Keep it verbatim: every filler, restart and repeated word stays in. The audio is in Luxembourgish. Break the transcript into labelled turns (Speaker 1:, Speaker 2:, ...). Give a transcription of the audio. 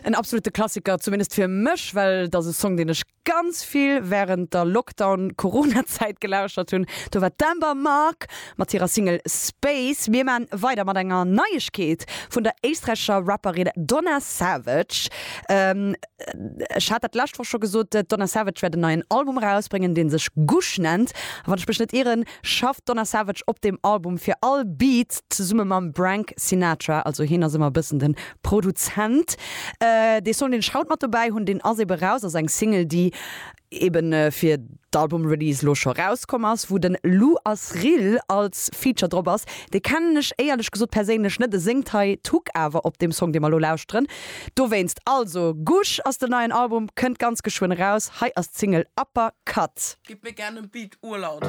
Speaker 1: En absolute Klassiker, zumindest fir mech, well dat ass e Song, deen ech ganz vill wärend der Lockdown-Corona-Zäit gelauschtert hunn. Do war d'Amber Mark mat hirer Single Space. Mir man weider mat enger Neiegkeet vun der éisträichescher Rapperin Donna Savage. Ähm, ech hat dat d'lescht Woch scho gesot, d'Donna Savage wäert en neien Album erausbréngen, dee sech Gush nennt. A wann ech mech net ieren, schafft d'Donna Savage op deem Album fir all Beat zesumme mam Brank Sinatra, also hien ass ëmmer e bëssen de Produzent. Dee Song, deen ech haut mat dobäi hunn, deen ass ebe raus, ass eng Single, déi eben fir d'Album-Release lo scho rauskomm ass, wou den Lou Asril als Feature drop ass. Dee kennen ech éierlech gesot perséinlech net, e séngt hei d'Hook awer op deem Song, dee mer lo lauschteren. Dowéinst also, Gush ass den neien Album, kënnt ganz geschwënn eraus. Hei ass d'Single Upper Cut.
Speaker 2: Gib mir gerne en Beat urlaut.